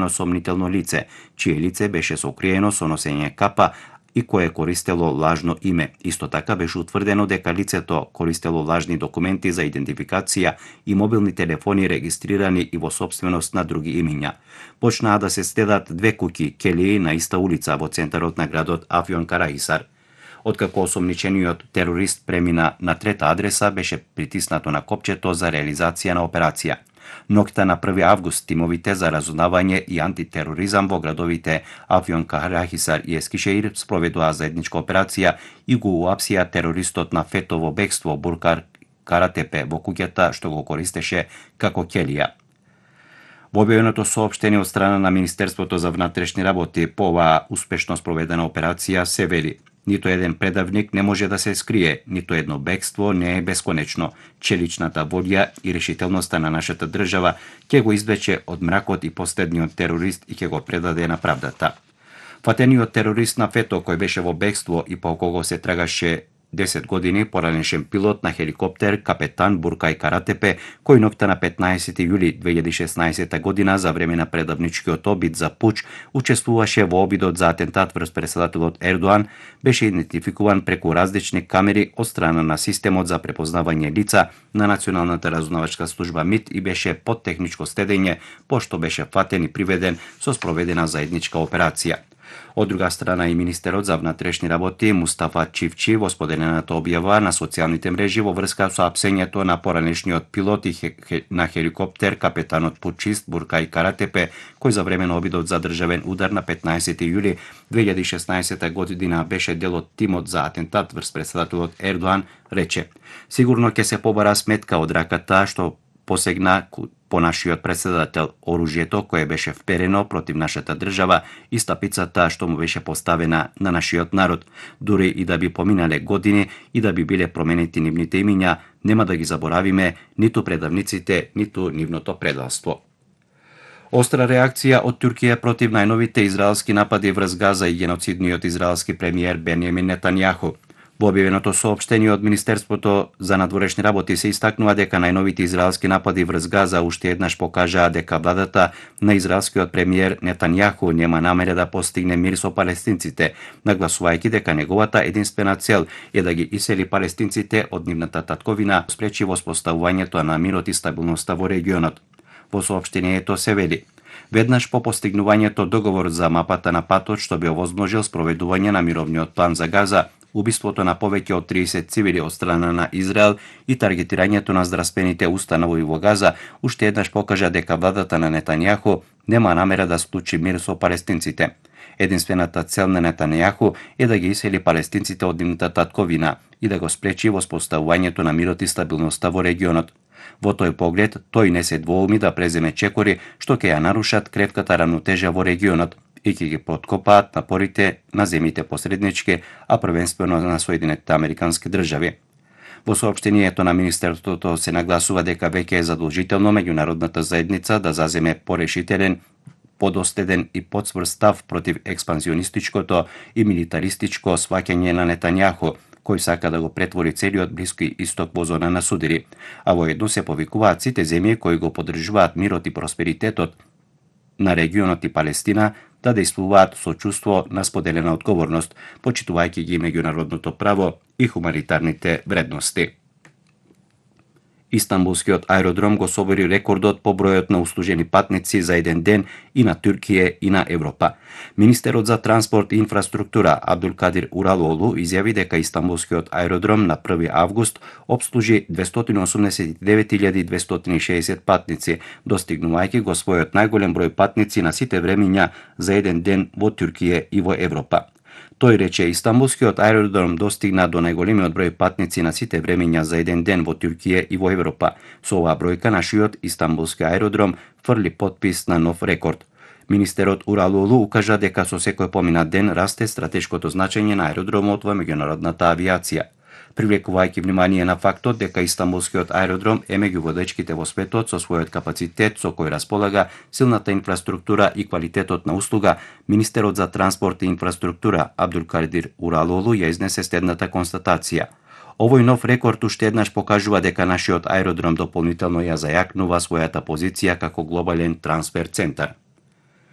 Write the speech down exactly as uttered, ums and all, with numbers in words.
сомнително лице, чие лице беше сокриено со носење капа и кое користело лажно име. Исто така беше утврдено дека лицето користело лажни документи за идентификација и мобилни телефони регистрирани и во собственост на други имиња. Почнаа да се стедат две куќи келии на иста улица во центарот на градот Афјон-Караисар. Откако осомничениот терорист премина на трета адреса, беше притиснато на копчето за реализација на операција. Ноќта на први август тимовите за разузнавање и антитероризам во градовите Афјон-Караисар и Ескишеир спроведуваа заедничка операција и го уапсија терористот на фетово бегство Буркар Каратепе во куќата што го користеше како келија. Во објавеното соопштение од страна на Министерството за внатрешни работи по оваа успешно спроведена операција се вели: нито еден предавник не може да се скрие, нито едно бегство не е бесконечно. Челичната волја и решителноста на нашата држава ќе го извлече од мракот и последниот терорист и ќе го предаде на правдата. Фатениот терорист на фето кој беше во бегство и по кого се трагаше десет години, поранешен пилот на хеликоптер капетан Буркај Каратепе, кој ноќта на петнаесети јули две илјади и шеснаесета година за време на предавничкиот обид за пуч учествуваше во обидот за атентат врз претседателот Ердоан, беше идентификуван преку различни камери од страна на системот за препознавање лица на Националната разузнавачка служба МИТ и беше под техничко следење, пошто беше фатен и приведен со спроведена заедничка операција. Од друга страна и министерот за внатрешни работи Мустафа Чивчи во споделената објава на социјалните мрежи во врска со апсењето на поранешниот пилот и хе, на хеликоптер капетанот пучист Буркај Каратепе, кој за време на обидот за државен удар на петнаесети јули две илјади и шеснаесета година беше дел од тимот за атентат врз претседателот Ердоан, рече: сигурно ќе се побара сметка од раката што посегна по нашиот претседател, оружјето кое беше вперено против нашата држава и стапицата што му беше поставена на нашиот народ. Дури и да би поминале години и да би биле променети нивните имиња, нема да ги заборавиме ниту предавниците, ниту нивното предалство. Остра реакција од Туркија против најновите израелски напади врз Газа и геноцидниот израелски премиер Бенјамин Нетањаху. Во објавеното соопштение од Министерството за надворешни работи се истакнува дека најновите израелски напади врз Газа уште еднаш покажаа дека владата на израелскиот премиер Нетањаху нема намера да постигне мир со палестинците, нагласувајќи дека неговата единствена цел е да ги исели палестинците од нивната татковина, спречи воспоставувањето на мирот и стабилноста во регионот. Во соопштението се вели: веднаш по постигнувањето договор за мапата на патот што би овозможил спроведување на мировниот план за Газа, убиството на повеќе од триесет цивили од страна на Израел и таргетирањето на здравствените установи во Газа уште еднаш покажа дека владата на Нетањаху нема намера да склучи мир со палестинците. Единствената цел на Нетањаху е да ги исели палестинците од нивната татковина и да го спречи воспоставувањето на мирот и стабилноста во регионот. Во тој поглед, тој не се двоуми да преземе чекори што ќе ја нарушат кревката рамнотежа во регионот и ќе ги подкопаат напорите на земјите посреднички, а првенствено на Соединетите Американски држави. Во соопштението на Министерството се нагласува дека веќе е задолжително меѓународната заедница да заземе порешителен, подоследен и подсврст став против експанзионистичкото и милитаристичко сваќање на Нетањаху, кој сака да го претвори целиот Блиски Исток во зона на судири, а воедно се повикуваат сите земји кои го поддржуваат мирот и просперитетот на регионот и Палестина да действуваат со чувство на споделена одговорност, почитувајќи ги меѓународното право и хуманитарните вредности. Истанбулскиот аеродром го собори рекордот по бројот на услужени патници за еден ден и на Туркија и на Европа. Министерот за транспорт и инфраструктура Абдулкадир Уралоглу изјави дека Истанбулскиот аеродром на први август обслужи двестоина осумдесет и девет илјади двестоина и шеесет патници, достигнувајќи го својот најголем број патници на сите времиња за еден ден во Туркија и во Европа. Тој рече, Истанбулскиот аеродром достигна до најголемиот број патници на сите времиња за еден ден во Туркија и во Европа. Со оваа бројка нашиот Истанбулски аеродром фрли потпис на нов рекорд. Министерот Уралоглу укажа дека со секој поминат ден расте стратешкото значење на аеродромот во меѓународната авиација, привлекувајќи внимание на фактот дека Истанбулскиот аеродром е меѓу водечките во светот со својот капацитет со кој располага, силната инфраструктура и квалитетот на услуга. Министерот за транспорт и инфраструктура Абдулкадир Уралоглу ја изнесе следната констатација: овој нов рекорд уште еднаш покажува дека нашиот аеродром дополнително ја зајакнува својата позиција како глобален трансфер центар.